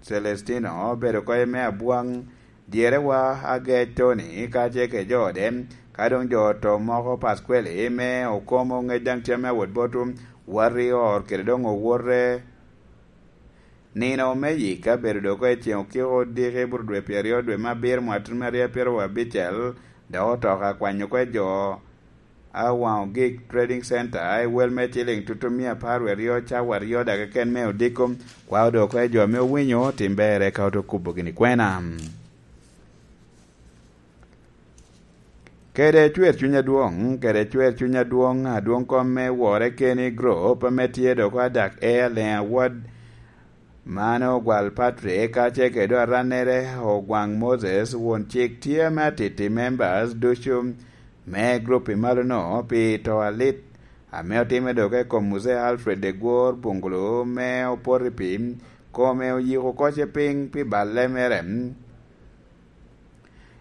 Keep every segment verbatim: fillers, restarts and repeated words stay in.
Celestino obedo kɔc me abwaŋ, dyerewa Agec Tony kacel kede jo ode, ka doŋ jo oto moko Pasqueli me Okomo, ŋec daŋ tye ame awot botwu, wati or kede doŋ owote. Nino me yika bedo dok i ceŋ okiko odiki bur dwe pyeraryo dwe me abiro mwaka tutu me aryo pyeraryo abicel, dok otoka kwanyo kwe jo Awaŋo Gik Trading Center i wel me ciliŋ tutu mia apar wie aryo cawa aryo daga keken me odiko, kwa odoko i jo ame owinyo tim berre ka oto kubo gini kwena. Kede cwer cuny adwoŋ, kede cwer cuny adwoŋ, adwoŋ kom me wore keni grop ame tye dok adak e Aleŋ Award, mano Ogwal Patrick, kacel kede arannere Ogwaŋ Moses, won cik tye ame atiti members ducu me grup i malono pi to alit ame otimme dok i kom Muzee Alfred Degwor Bungulu me opoto i pi kome oyiko kocce piny pi balle mere.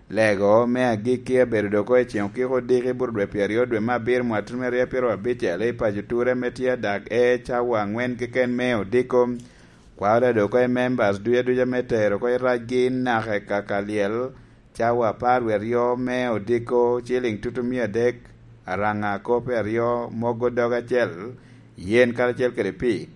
Lego me agikki abedo dok i ceŋ okiko odiki bur dwe pyeraryo dwe me abiro mwaka tutu me aryo pyeraryo abicel i paco Ture ame tye adak e cawa aŋwen keken me odiko. Kwao dok i members duca duca me tero oko i racgi naka i kaka lyel cawa apar wie aryo me odiko, ciliŋ tutu mia adek, araŋa akope aryo, mogo dog acel, yen karacel kede pii.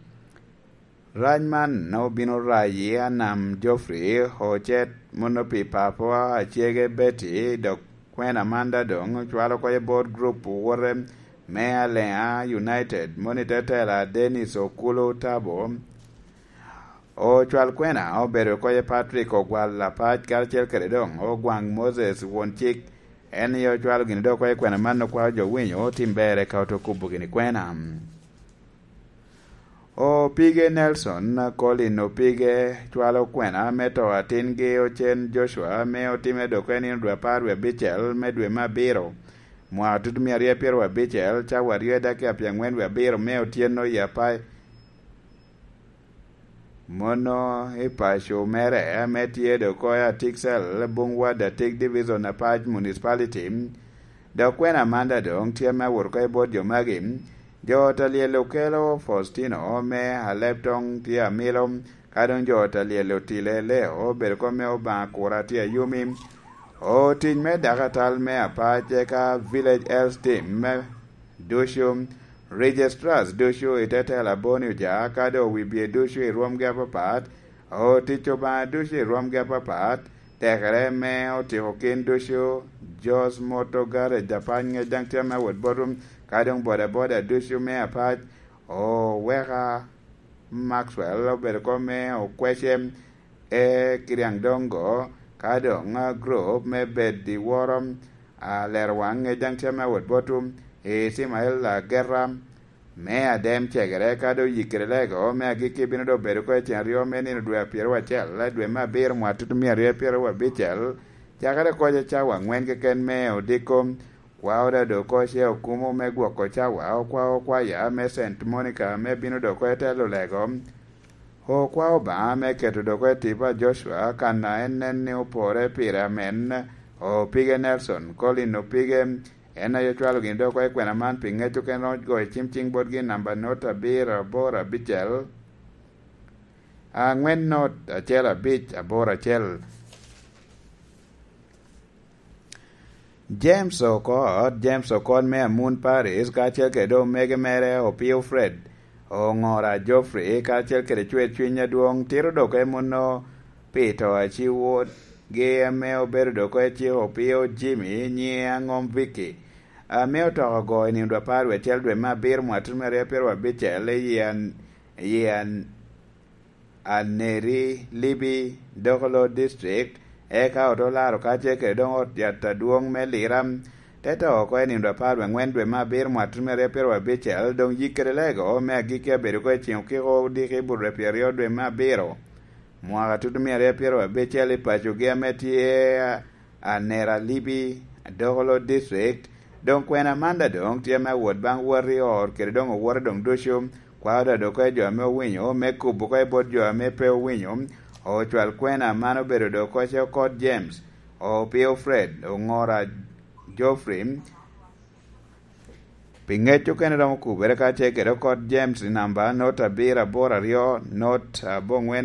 Rac man obino rayi Anam Geoffrey Ocet, mono pi papawa acege Betty, dok kwena Amanda doŋ cwalo oko i bot grup owote me Aleŋa United, mono i te tela Dennis Okulu Tabo. Ocwal kwena obedo oko i Patrick Ogwal Apac karacel kede doŋ Ogwaŋ Moses won cik. En aye ocwalo gini dok oko i kwena man okwao jo winyo tim berre ka oto kubo gini kwena. Opige Nelson, Colin Opige cwalo kwena me to atingi Ocen Joshua ame otimme dok i nino dwe apar wie abicel me dwe me abiro, mwaka tutu mia aryo pyeraryo abicel, cawa aryo i dakika pyeŋwen wie abiro me otyeno i Apai. Mono i paco mere ame tye dok oko i Atiksel, Bungwa Datik Division, Apac Municipality, dok kwena Amanda doŋ tye ame awot oko i bot jo magi. Jo ot a lyel okelo Faustino me Aleptong tye amilo, ka doŋ jo ot a lyel otile Leo obedo oko me Obaŋa Kura tye ayumi. Otic me dakatal me Apac eka Village Health Team me ducu, Registrars ducu i te tela Boni Oja, ka doŋ wi bye ducu i rwomgi apapat, otic Obaŋa ducu i rwomgi apapat, tekere me otiko kin ducu, Jos Moto Garage Apac ŋec daŋ tye me wot botwu, ka doŋ bodaboda ducu me Apac, oweka Maxwell obedo oko me okwece e Kiriaŋ Dongo, ka doŋ a grup me bed i woro a lero waŋ ŋec daŋ tye me wot botwu, Ismael Ageta me Adem Cegere, ka doŋ yikkere lego me agikki bino doŋ bedo oko i cen aryo me nino dwe a pyeraryo acel, dwe me abiro mwaka tutu mia aryo pyeraryo abicel, cakere koc cawa aŋwen keken me odiko. Kwao dado oko ce okumo me gwoko cawa, okwao kwaya me Saint Monica me bino dok oko i telo lego. Okwao Obaŋa me keto dok oko i tipo a Joshua, kan a en nen ni opore pire amen. Opige Nelson, Colin Opige, en aye ocwalo gini dok oko i kwena man pi ŋec okene romo goyo cim cing botgi namba not abiro aboro abicel, aŋwen not acel abic aboro acel. James Okot, James Okot me Amun Paris, kacel kede omege mere Opio Fred, Oŋora Geoffrey, kacel kede Cwer Cwiny Adwoŋ, tito dok e muno pi to a ci wotgi ame obedo dok e cik Opio Jimmy, nyiŋe Aŋom Vicky, ame otoko ogo i nino dwe apar wie acel dwe me abiro mwaka tutu me aryo pyeraryo abicel i An-, i An-, Aneri Libi, Dokolo District, eka ote olaro kacel kede doŋ ot yat adwoŋ me Lira, te to oko i nino apar wie aŋwen dwe me abiro mwaka tutu me aryo pyeraryo abicel, doŋ yikkere lego me agikki abedo oko i ceŋ okiko odiki i bur dwe pyeraryo dwe me abiro, mwaka tutu mia aryo pyeraryo abicel i pacogi ame tye Anera Libi, Dokolo District. Doŋ kwena Amanda doŋ tye me awot baŋ wot i ot kede doŋ owote doŋ ducu, kwao dado oko i jo ame owinyo, me kubo oko i bot jo ame pe owinyo. Ocwal kwena man obedo dok oko ce Okot James, Opio Fred, Oŋora Geoffrey. Pi ŋec okene romo kubere ka ce kede Okot James i namba not abiro aboro aryo, not aboŋwen